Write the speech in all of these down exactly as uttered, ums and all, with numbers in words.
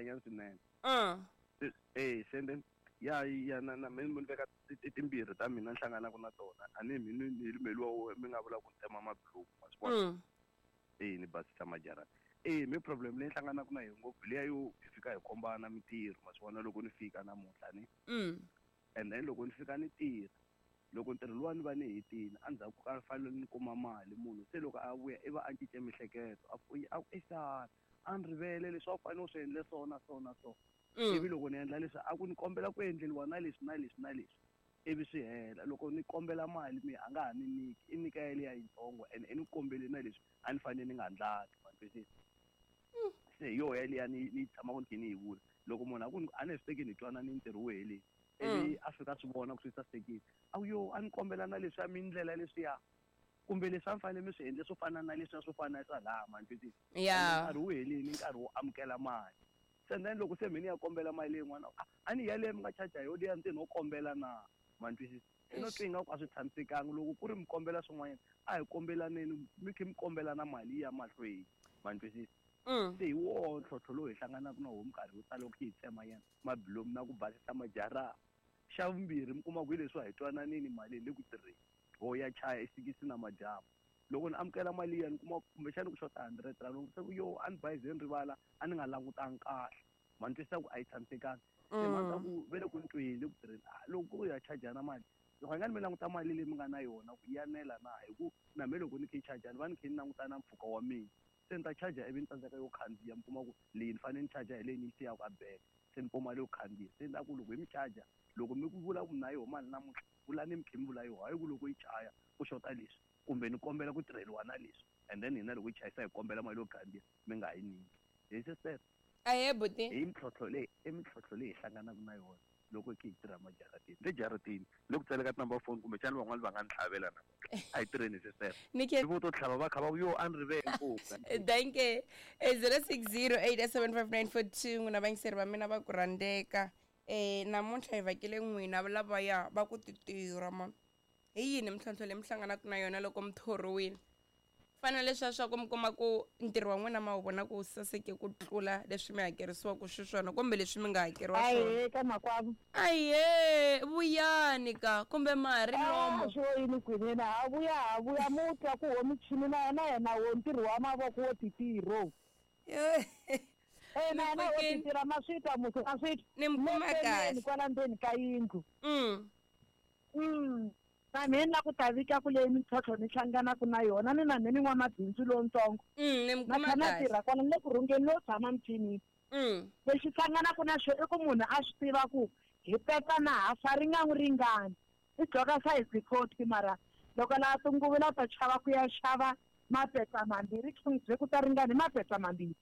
nyana swinene. Mm. Eh se then ya ya na na mina ni veka timbirhi ta mina ni hlanganaka na tona a ni mi ni meliwa mi nga vula ku tema mabilomu ma swi vona. Eh ni basisa majarata. Eh mi problem leyi hlanganaka na yona ngopfu liya yo hi fika hi kombana mintirho ma swi vona loko ni fika namuntlha ni. Mm. And then loko ni fika ni tirha loko ntirho luwa ni va ni hetile endzhaku ka fanele ni kuma mali munhu se loko a vuya i va a cince miehleketo a ku a ku esana a ni rivele leswi a wu fanele u swi endle so na so na so. Ivi loko ni endla leswi a ku ni kombela ku endleriwa na leswi na leswi na leswi ivi swi hela loko ni kombela mali mi a nga ha ni nyiki i nyika yaliya yitsongo and i ni kombele na leswi a ni fanele ni nga ndlaki ma twisisa. Se hi yoho yaliya ni ni tshamaka ni kha ni yi vula loko munhu a ku a ni swi teki ni twana ni ntirho wu helile ivi a fika swi vona ku swi sasekile a ku yo a ni kombela na leswiya mi ndlela leswiya kumbe leswi a ni fanele mi swi endle swo fana na leswiya swo fana na swa laha ma twisisa. Nkarhi wu helile nkarhi wo amukela mali se then loko se mina ya kombela mali leyin'wana a ni yaleyo mi nga charge yo liya ntsena wo kombela na ma twisisa. I no twi ingaku a swi tshamisekanga loko ku ri mi kombela swin'wanyana a hi kombelaneni mi kha mi kombela na mali ya mahlweni ma twisisa. Se hi woho ntlhontlho lowu hi hlanganaka na woho minkarhi yo tala loko hi tsema nyana mabilomu na ku basisa majarata. Xa vumbirhi mi kuma ku hi leswi hi twananini mali le ku tirheni ho ya chaya esikisi na madyambu loko ni amukela mali liya ni kuma kumbexana ku xota hundred rand loko se ku yo a ni bayize ni rivala a ni nga langutanga kahle ma ni twisisa ku a yi tshamisekanga se mhaka ku ve le ku ni tweni le ku tirheni loko ku ya chajana mali loko nga ni mi languta mali leyi mi nga na yona ku ya nela na hi ku na me loko ni kha yi charge ni va ni kha ni languta na mpfhuka wa mina se ni ta charge ivi ni tsandzeka yo khandziya mi kuma ku leyi ni fanele ni charge hi leyi ni yi siyaka a beke se ni kuma leyo khandziya se ni ta ku loko hi mi charge loko mi ku vula ku na yoho mali namuntlha vulani mi kha mi vula yoho hayi ku loko yi chaya ku xota leswi kumbe ni kombela ku tirheliwa na leswi and then hina loko yi chayisa hi kombela mali yo khandziya mi nga yi nyiki hi sister. Ahe buti hi mintlhontlho leyi i mintlhontlho leyi hi hlanganaka na yona loko hi tirha majarateni le jarateni loko tsaleka tinumber phone kumbexana van'wani va nga ni tlhavela namuntlha a hi tirheni sister vo to tlhava va kha va ku yo a ni rivele ngopfu. Thank you. Zero six zero eight seven five nine four two n'wina vayingiseri va mina va ku rhandzeka eh namuntlha hi vhakele n'wina lavaya va ku ti tirha man hi yini mintlhontlho leyi mi hlanganaka na yona loko mi thoriwile fana leswiya swa ku mi kuma ku ntirho wa n'wina ma wu vona ku saseke ku tlula leswi mi hakerisiwaka xiswona kumbe leswi mi nga hakeriwa swona. Ahe ka makwavo. Ahe vuyani ka kumbe ma ha ri lomo. Swo yini kwinene ha vuya ha vuya mu twa ku ho michini na yena yena wo ntirho wa mavoko wo titirho. Eh na na wo titirha ma swi twa musi a swi ni mi kuma kahle kwala ndzeni ka yindlu. Mm. Mm. Na mina ku ta vika ku leyi mintlhontlho ni hlanganaka na yona ni na mina ni n'wamabindzu lowutsongo. Mm, ni mi kuma kahle. Na tirha kwala ni le ku rhungeni no tshama michinini. Mm. Lexi hlanganaka na xo i ku munhu a swi tiva ku hi peta na hafa ri nga n'wi ringani i dloka size forty mara loko la tinguvu la ta chava ku ya xava mapetsa mambirhi byi ku ta ringani mapetsa mambirhi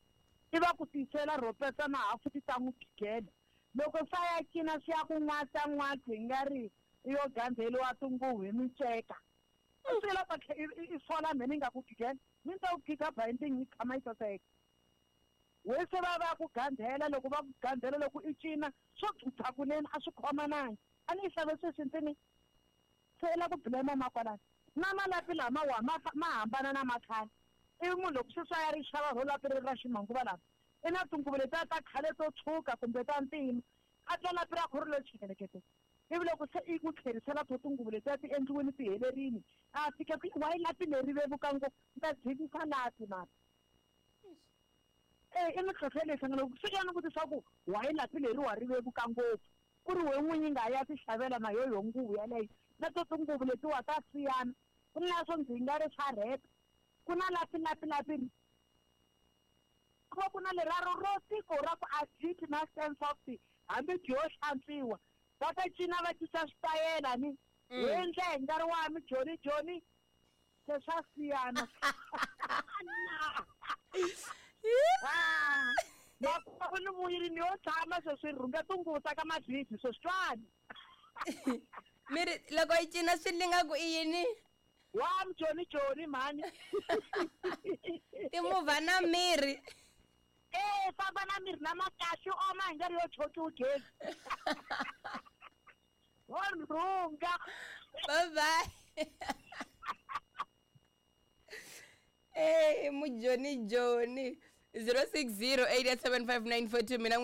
i va ku tisela ro petsa na hafu ti ta n'wi phikela loko sa ya cina swi ya ku n'watsa n'watsi hi nga ri yo gandzeliwa tinguvu hi miceka i swi lava i sola mhe ni nga ku gigela mi ta ku giga binding yi tshama yi saseka we se va va ku gandzela loko va ku gandzela loko i cina swo dzudza kunene a swi khomanangi a ni yi xave sweswi ntsini se la ku blame makwalani na malapi lama wa ma ma hambana na makhale i munhu loko sweswi a ya ri xava ro lapi ri ra ximanguva lama i na tinguvu letiya ta khale to tshuka kumbe ta ntima a twa lapi ra kho ri lo chekelekete ivi loko se i ku tlherisela to tinguvu letiya ti endliwini ti helerini a fika ku wa yi lapi leri vevuka ngopfu ni ta dzikisa lapi mara eh i mintlhontlho leyi hlangana loko fika ni vutisa ku wa yi lapi leri wa ri vevuka ngopfu ku ri we n'winyi nga ya ti xavela na yo yo nguvu yaleyo na to tinguvu letiwa ta siyana ku na swo ndzi nga ri swa rheta ku na lapi lapi lapi ku va ku na leraro ro tiko ra ku aditi na sense of hambi byo hlantswiwa va ta cina va cinca switayela ni we endla hi nkarhi wa mi joni joni se swa siyana makwavo ni vuyile ni yo tshama sweswi rhunga tinguvu ta ka madlidzi sweswi twani mi ri loko yi cina swi linga ku i yini wa mjoni joni mhani timovha na mirhi eh famba na mirhi lama kahle oma hi nkarhi yo chokiwa gezi wa rhunga bye bye. Eh mujoni joni zero six zero eight seven five nine four two mina.